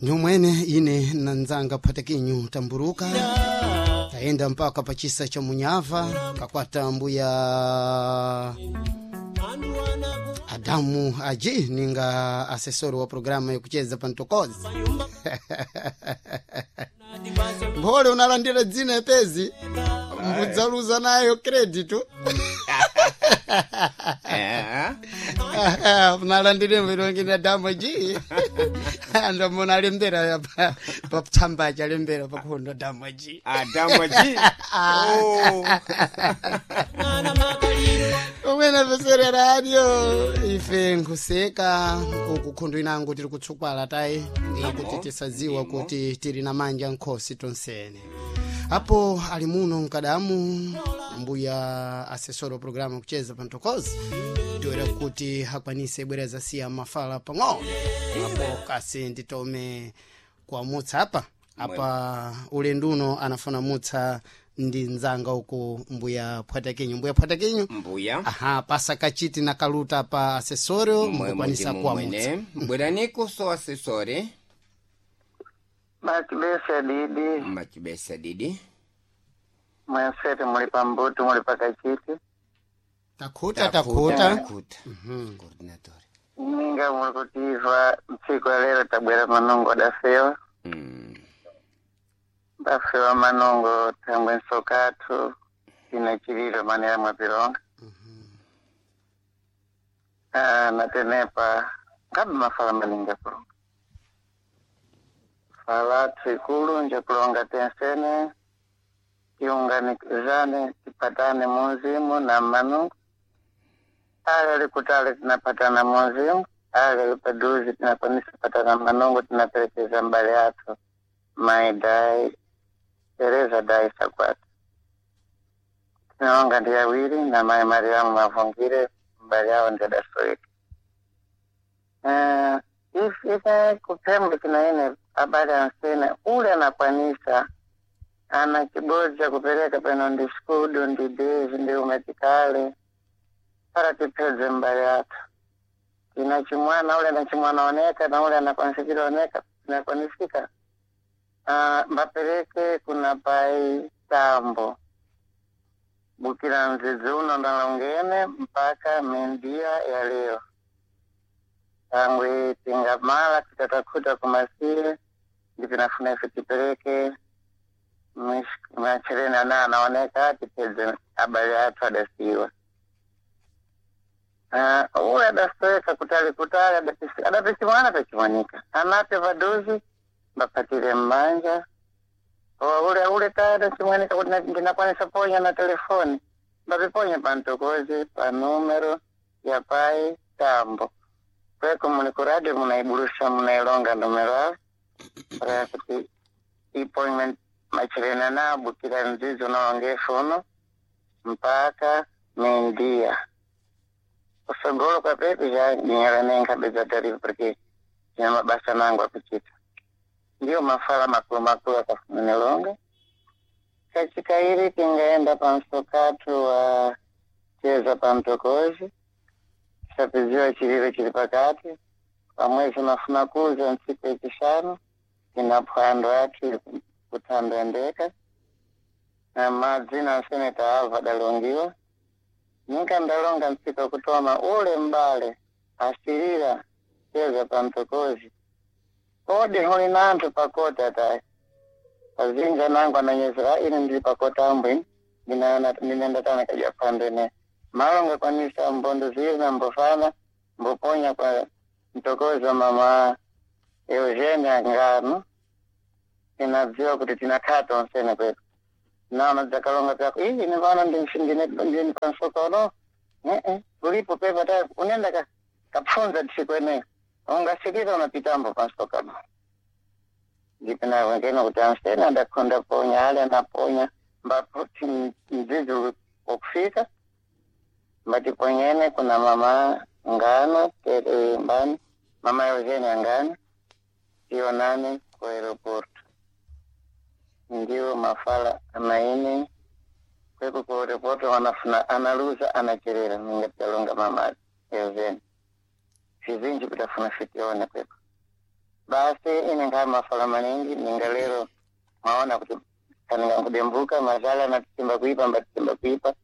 Ndiumwene ine nanzanga phatakinyu tamburuka tayenda mpaka pachisa cha munyava kakwata mbuya Adamu Aji ninga asesori wa programa yakucheza pantokozi. Mphole unalandira dzina epezi mbudzaluza nayo credit. Unalandire mvirongine Adamu Aji ndomona alembera patsamba achalembera pakhondo Adamu Aji. Adamu Aji. Oh. Umwene pesere radio ife nkuseka uku khundu inango tiri kutsukwala tayi kuti tisadziwa kuti tiri na manja nkhosi tonsene apo ali muno mkadamu mbuya asesoro programa kucheza pantokozi tiwera kuti akwanise bwera zasiya mafala pang'ono apo kasi nditome kuamutsa apa apa ulendo uno anafuna mutsa ndi nzanga uku mbuya phwatakinyu mbuya phwatakinyu. Mbuya. Aha, pasa kachiti na kaluta pa asesorio mukukwanisa kuamutsa. Mwene bweraniku so asesore. Machibesa didi. Machibesa didi. Mwensete muli pambuto muli pakachiti. Takhuta takhuta. Takhuta. Coordinator. Ninga muli kutiva mtsiku ya lero tabwera manongo adafewa. Dafewa manongo thangwe nsokathu tina chililo manera mwapironga. Ah, natenepa ngabe mafala maninga kulonga. Fala ikulu nje kulonga tensene tiunganizane tipatane munzimu na manungu ale likutale tinapatana munzimu ale lipaduzi tinakwanisa patana manungu tinaperekeza mbali athu mai dai Tereza dai Sakwata tinaonga ndi awiri na mai Mariamu Mavungire mbali yawo ndi adasoika. Ife kuphemba kinaine abali ansene ule anakwanisa ana chibodzi kupereka peno ndi skudu ndi dezi ndi umetikale para tipedze mbali athu tina chimwana ule na chimwana oneka na ule anakwanisikira oneka tinakwanisika mbapereke kuna pai tambo bukira mzizi uno ndalongene mpaka mendia ya leo tangwe tingamala tikatakhuta kumasiye ndipinafuna ife tipereke machereni ana anaoneka tipedze abali athu adasiwa. Uwe adasoweka kutali kutali adapisimwana pachimonika anape paduzi bapatire mmanja ule ule tayari chimwanika kuti ndinakwanisa ponya na telefoni bapiponya pantokozi pa numero ya pai tambo kweko muli ku radio munaibulusha munailonga numero avo para kuti appointment macherena na bukira mzizi unaonge funo mpaka mendia kusogolo kwa pepi ja nyera nenkhabe za tarifu porque ina mabasa nangu akuchita ndiyo mafala makulu makulu akafunanilonga kachikairi tingaenda pansokatu wa cheza pamtokozi tisapiziwa chililo chili pakati pamwezi mafuna kuza ntsiku yachishanu tina phwando athu kuthandendeka na madzina aseneta avo adalongiwa ninka ndalonga ntsiku yakutoma ule mbale asilira cheza pamtokozi ode huli nanthu pakota tayi azinja nangu ananyezera ine ndili pakota ambwini ndinendatana kadya phwando ine malonga kwanisa mbondo zili na mbofana mboponya kwa mtokozi wa mama Eugenia Ngano tinadziwa kuti tinakhala tonsene kwetu naona dzakalonga pyako iyi ine pano ndini pansokono ee ulipo pepa tayi unenda kapfunza tsiku eneyo ungasikira unapitambo pansokano ndipinawengena kuti ansene adakhonda ponya ale anaponya mbaputi mdzizi wakufika mbatiponyene kuna mama Ngano tere mbani mama Eugenia Ngano tionane ku aeroporto ndiwo mafala anaine kweko ku aeroporto wanafuna analuza anacherera ningatalonga mama Eugenia fizinji kutafuna fitione kweko. Basi ine. Ningaa mafala maningi ninga lero maona kuti kaninga kudembuka mazala natisimba kuipa mbatisimba kuipa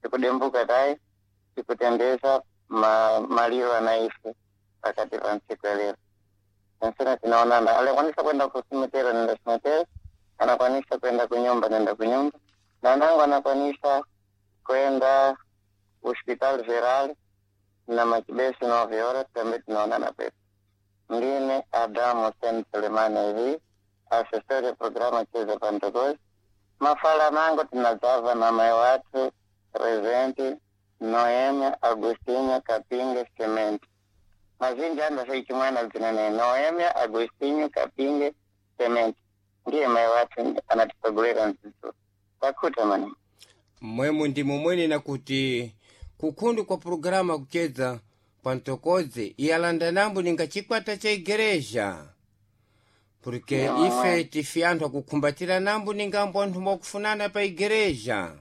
tikudembuka tayi tikutendeza maliro anaife pakati pa ntsiku ya lero ensena tinaonana alikwanisa kwenda kusimetero nenda simetero anakwanisa kwenda kunyumba nenda kunyumba na nangu anakwanisa kwenda hospital geral na machibesi 9 horas tambe tunaonana pepo ndine Adamu Sen Sulemani hivi assessor ya programa cheza pantokozi mafala mango tinazava na mai watu Rezende Noemia Agostinho Kapinga Cement mazinji anda seichimwana zinene Noemia Agostinho Kapinga Cement ndiye mai watu anatipagulira mzizu takuta mani Mwemu ndi mumwene nakuti kukhundu kwa pulogalamu kucheza pantokodzi iyalanda nambo ninga chikwata cha igereja porque Yeah. ife tifi anthu akukhumbatira nambo ningambo anthu mwakufunana pa igereja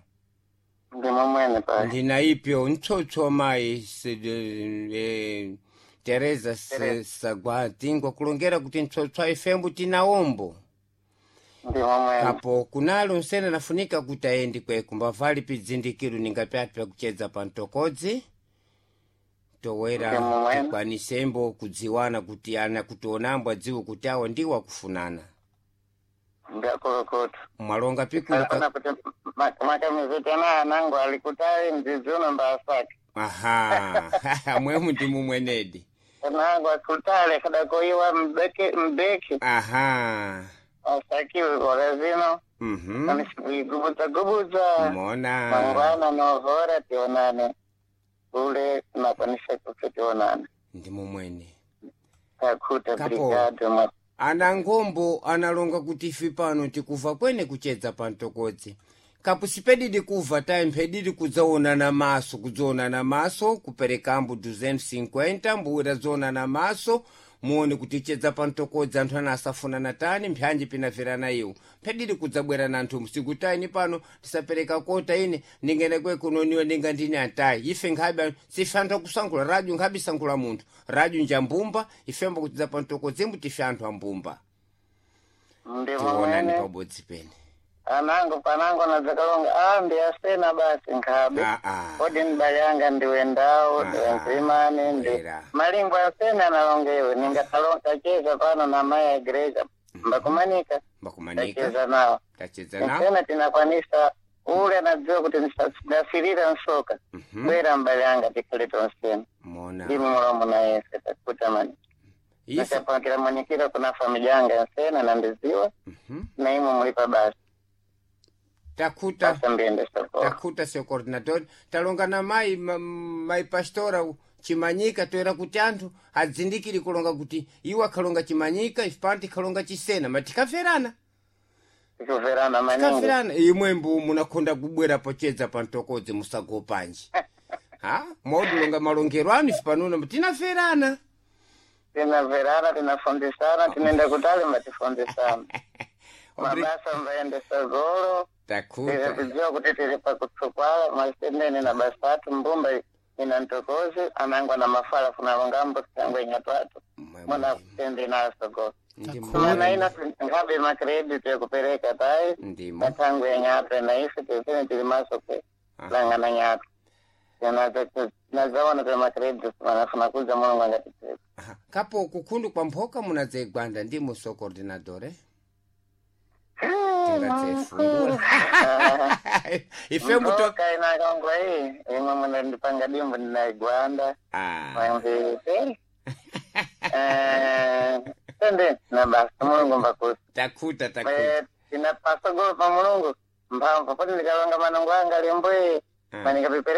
ndi momwene pa ndina ipyo ntsotso mayi Teresa Teresa. Sagwatingwa kulongera kuti ntsotso ifembo tinaombo ndi momwene apo kunalo nsena nafunika kuti ayendi kweku mbavali pidzindikiro ninga pyatu pyakuchedza pa mtokodzi towera Ndi momwene. tikwanisembo kudziwana kuti ana kutionambo adziwe kuti awo ndiwo akufunana ndakulukutu mwalonga pikulu Alikuona kuti makamiziti ana anangu alikutali mzizi uno mbaasake aha mwemu ndi mumwenedi anangu akutale kadakoiwa mbeke mbeki aha asakiwe kora zino mhm anisikuigubudza gubudza mona mangwana novora tionane ule nakwanisa kuti tionane ndi mumwene takuta Kapo. brigado ma Ana ngombo analonga kuti ife pano tikuva kwene kuchedza pa mtokodzi kapu sipedidi kuva tayi mphedidi kudzaonana maso kudzaonana maso kuperekambo 250 mbuwira dzaonana maso muone kuti chedza pa mtokodzi anthu ana asafunana tani mphanji pinamverana iwo mphedidi kudzabwera na anthu msiku tayini pano tisapereka kota ine ndingene kwekunoniwa ndinga ndine antayi ife nkhabe sife anthu akusankhula radyo nkhabe isankhula munthu radyo njambumba ifembo kutidza pa mtokodzimbu tife anthu ambumba ndi tionani momwene pabodzi pene anangu panangu anadzakalonga a ndi asena basi nkhabe Ah, ah. kodi mbali yanga ndiwe ndawo ndiwe Aha. nzimani ndi Era. malingo asena analongewe ningatacheza pano na mai ya igreja mbakumanika mbakumanika tacheza nawo tacheza nawo nsena tinakwanisa ule anadziwa kuti ndasirira nsoka bwera mbali yanga tikhale tonsena mona ndimi mulomo na yese takuta mani ife nachapakira mwenyekira kuna familia yanga nsena nandiziwa na imwe mulipa basi takuta basa mbiende sokolo takuta seu coordinador talonga na mai mai pastora chimanyika toera kuti anthu adzindikiri kulonga kuti iwo akhalonga chimanyika ife pano tikhalonga chisena ma tikamverana tikuverana maningi tikamverana imwe mbu munakhonda kubwera pochedza pa mtokodzi musagopanji ha mwaudilonga malongero anu ife panona tinamverana tinaverana tinafundisana tinenda kutali mbatifundisana mabasa mbaende sogolo takuta tikudziwa kuti tiri pakutsukwala masendene na basatu mbumba ina ntokozi anangwa na mafala funalongambo tangwe nyatwatu muna tende na sogolo mana ina ngabe makredit yakupereka tayi ndimo matangwe nyatwe na ife tisene tiri maso kwe langana nyatwe nazaona tiri makredit manafuna kudza mulungu angatiteka Aha. Kapo kukhundu kwa mphoka munadzayigwanda ndimo so coordinador eh? Tingadzayifungula ife muto Mboka inakongwa iyi imwe munandipanga dimbu ndinaigwanda ah. mwamvise tende na basa mulungu mbakusi takuta takuta tinapasogolo pa mulungu mphamvu poti ndikalonga manungo anga limbwe Ah. manikapipere